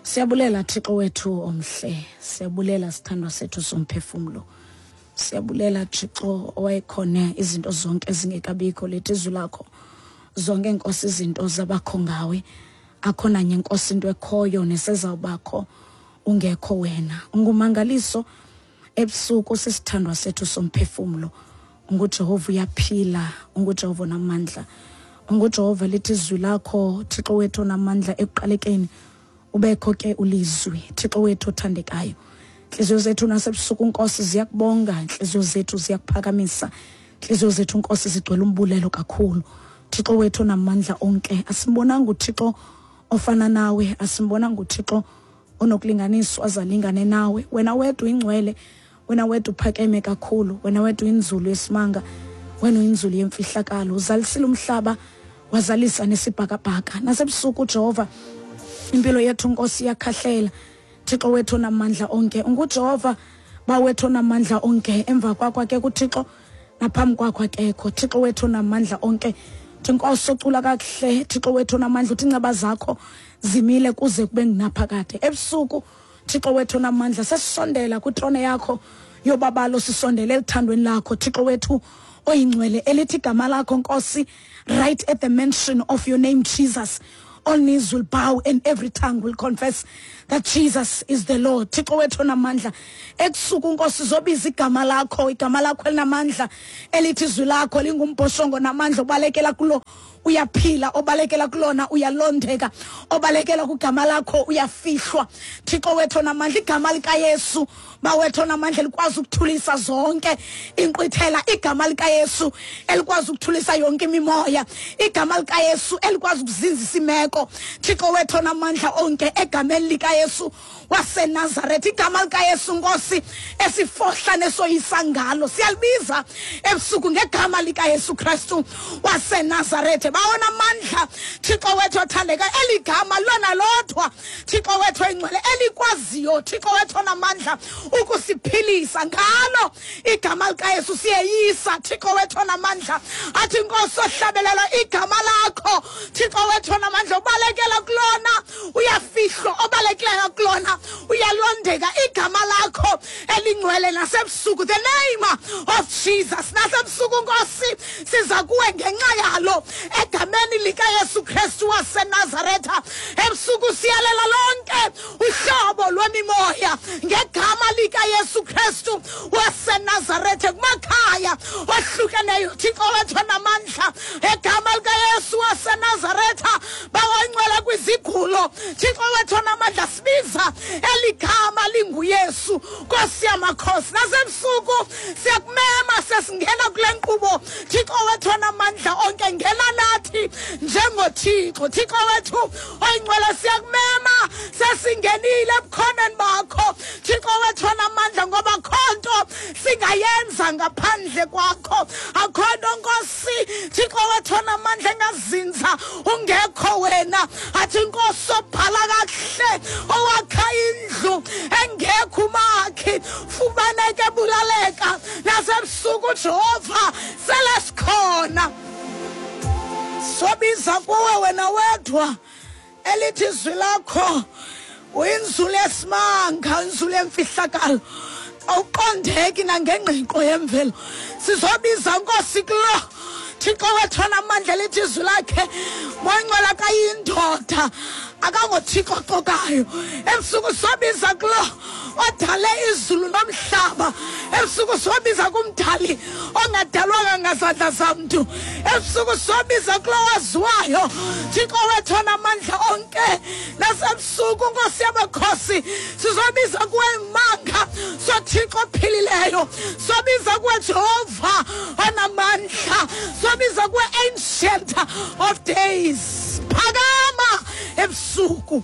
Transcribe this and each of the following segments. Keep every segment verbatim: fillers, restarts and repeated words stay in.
Siyabulela Thixo wethu omhle, siyabulela sithandwa sethu somphefumlo. Siyabulela Thixo owayekhona izinto zonke ezingekabikho, lethi izwi lakho zonke Nkosi izinto zabakho ngawe. Akho nanye Nkosi into ekhoyo nesezawubakho ungekho wena. Ungumangaliso ebusuku, sisithandwa sethu somphefumlo. UnguJehova uyaphila, unguJehova onamandla. UnguJehova lithi izwi lakho Thixo wethu onamandla, ekuqalekeni ubekho ke ulizwi, Thixo wethu othandekayo. Inhliziyo zethu nasebusuku Nkosi ziyakubonga, inhliziyo zethu ziyakuphakamisa, inhliziyo zethu Nkosi zigcwele umbulelo kakhulu. Thixo wethu onamandla onke, asimbonanga uThixo ofana nawe, asimbonanga uThixo onokulinganiswa azalingane nawe. Wena wedwa ingcwele, wena wedwa uphakeme kakhulu, wena wedwa inzulu yesimanga, wena uyinzulu yemfihlakalo. Uzalisile umhlaba wazalisa nesibhakabhaka. Nasebusuku Jehova impilo yethu Nkosi iyakhahlela. Thixo wethu onamandla onke, unguJehova bawethu onamandla onke. Emva kwakho ke kuThixo, naphambi kwakho akekho. Thixo wethu onamandla onke, Nkosi ocula kakuhle, Thixo wethu onamandla, uthi inceba zakho zimile kuze kube ngunaphakade. Ebusuku Thixo wethu onamandla, sesisondela kwitrone yakho yobabalo, sisondele elithandweni lakho Thixo wethu oyingcwele, elithi igama lakho Nkosi, right at the mention of your name Jesus, all knees will bow and every tongue will confess that Jesus is the Lord. Thixo wethu onamandla, ebusuku Nkosi zobiza igama lakho, igama lakho elinamandla, elithi izwi lakho lingumbhoshongo namandla, obalekela kulo uyaphila, obalekela kulona uyalondeka, obalekela kugama lakho uyafihlwa. Thixo wethu onamandla, igama likaYesu bawethu onamandla likwazi ukuthulisa zonke inkqwithela, igama likaYesu elikwazi ukuthulisa yonke imimoya, igama likaYesu elikwazi ukuzinzisa imeko. Thixo wethu onamandla onke, egameni likaYesu waseNazaretha, igama likaYesu Nkosi esifohla nesoyisa ngalo, siyalibiza ebusuku ngegama likaYesu Kristu waseNazaretha. Bawona amandla Thixo wethu othandeka, eligama lona lodwa Thixo wethu oyingcwele elikwaziyo Thixo wethu onamandla ukusiphilisa ngalo igama likaYesu siyeyisa. Thixo wethu onamandla, athi Nkosi ohlabelela igama lakho Thixo wethu onamandla, ubalekela kulona uyafihlwa, obalekela kulona uyalondeka, igama lakho elingcwele nasebusuku, the name of Jesus. Nasebusuku Nkosi siza kuwe ngenxa yalo, egameni likaYesu Kristu waseNazaretha. Ebusuku siyalela lonke uhlobo lwemimoya ngegama likaYesu Kristu waseNazaretha, kumakhaya ohlukeneyo Thixo wethu onamandla, egama likaYesu waseNazaretha. Bawangcwele kwizigulo Thixo wethu onamandla, sibiza eligama linguYesu Nkosi yamakhosi. Nasebusuku siyakumema sesingena kule nkqubo Thixo wethu onamandla onke, ngena nathi njengoThixo. Thixo wethu oyingcwele, siyakumema sesingenile ebukhoneni bakho Thixo wethu onamandla, ngoba khonto singayenza ngaphandle kwakho, akho nto Nkosi Thixo wethu onamandla engazinza ungekho wena. Athi Nkosi obhala kakuhle owakha indlu engekho umakhi, fumaneke ebulaleka. Nasebusuku Jehova sele sikhona, sobiza kuwe wena wedwa, elithi izwi lakho uyinzulu yesimanga, inzulu yemfihlakalo, awuqondeki nangengqiqo yemvelo. Sizobiza Nkosi kulo Thixo wethu onamandla, elithi izwi lakhe moyingcwele akayindoda, akangoThixo oxokayo. Ebusuku sobiza kulo odale izulu nomhlaba, ebusuku sobiza kumdali ongadalwanga ngazandla zamntu, ebusuku sobiza kulo waziwayo Thixo wethu onamandla onke. Nasebusuku Nkosi yamakhosi sizobiza kuwe imanga soThixo ophilileyo, sobiza kuwe Jehova onamandla, sobiza kuwe Ancient of Days. Phakama ebusuku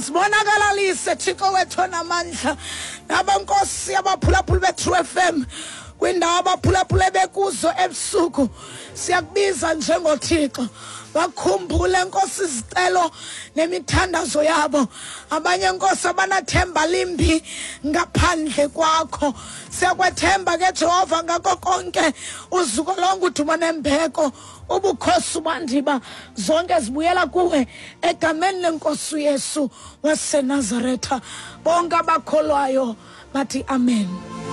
sibonakalise Thixo wethu onamandla, nabankosi abaphulaphula be-True F M kwindawo abaphulaphule bekuzo ebusuku, siyakubiza njengoThixo. Bakhumbule Nkosi izicelo nemithandazo yabo. Abanye Nkosi abanathemba limbi ngaphandle kwakho. Siyakwethemba ke Jehova ngako konke, uzuko lonke, udumo nembeko, ubukhosi bandiba zonke zibuyela kuwe egameni lenkosi uYesu waseNazaretha. Bonke abakholwayo bathi amen.